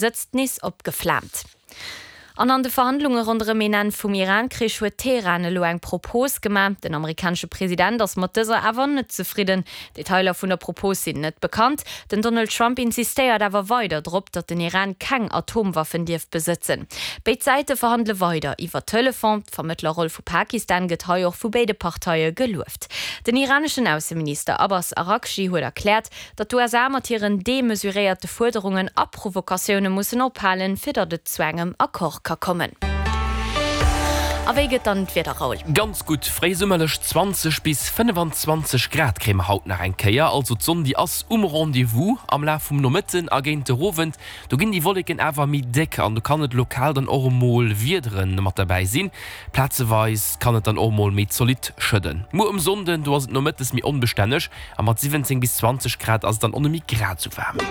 Sëtzt nees opgeflaamt. An an de Verhandlunge ronderëm een Enn vum Iran-Krich huet Teheran elo eng Propos gemaach. Den amerikanesche President ass mat dëser awer net zefridden. Detailer vun der Propos sinn net bekannt. Den Donald Trump insistéiert awer weider drop, datt den Iran keng Atomwaffen dierf besëtzen. Béid Säite verhandele weider iwwer Telefon. D'Vermëttlerroll vu Pakistan gëtt hei och vu béide Parteie gelueft. Den iraneschen Ausseminister Abbas Araghchi huet erkläert, Datt d'USA mat hiren demesuréierte Fuerderungen a Provokatioune mussen ophalen, fir datt et zu engem Accord ka kommen. A wéi gëtt dann d'Wieder, Raoul? Ganz gutt, fréisummerlech 20 bis 25 Grad kréie mer haut nach eng Kéier. Also d'Sonn déi ass um Rendez-vous am Laf vum Nomëtten a géint de Owend. Do ginn déi Wolleken awer méi déck an do kann et lokal dann och emol Wiedere mat derbäi sinn. Plazeweis kann et dann och emol méi zolidd schëdden. Muer um Sonnden, do ass et nomëttes méi onbestänneg A mat 17 bis 20 Grad ass et dann och net méi grad sou waarm.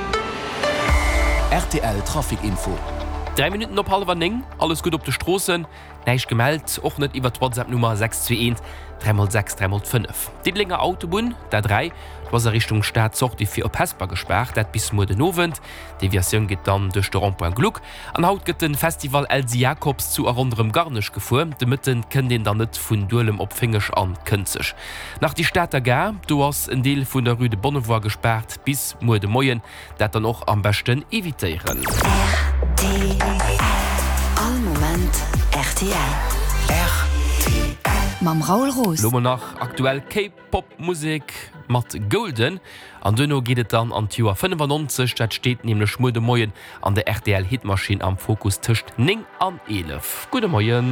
Rtl Trafic Info. 3 Minutten op hallwer 9, alles gutt op de Stroossen, näischt gemellt, och net iwwert d'Whatsapp Nummer 621 3 x 6 3 x 5. Diddelenger Autobunn, d'A3, do ass a Richtung Stad d'Sortie fir op Hesper gespaart, dat bis muer den Owend. D'Deviatioun geet dann duerch de Rond-point Gluck. An haut gëtt de Festival Elsy Jacobs zu a ronderëm Garnech gefuer. De Mëtten kënnt een dann net vun Duelem op Féngeg an Kënzeg. Nach déi Stater Gare, do ass en Deel vun der Rue de Bonnevoie gespaart bis muer de Moien. Dat dann och am beschten evitéieren. Rtl, All Moment rtl. Rtl. Mam Raoul Roos. Lo mol nach aktuell K-Pop Musek mat Golden an duerno geet et dann an d'Joer 95. Dat steet nämlech muer de Moien an der rtl Hitmaschinn am Fokus tëscht 9 an 11. Gudde Moien.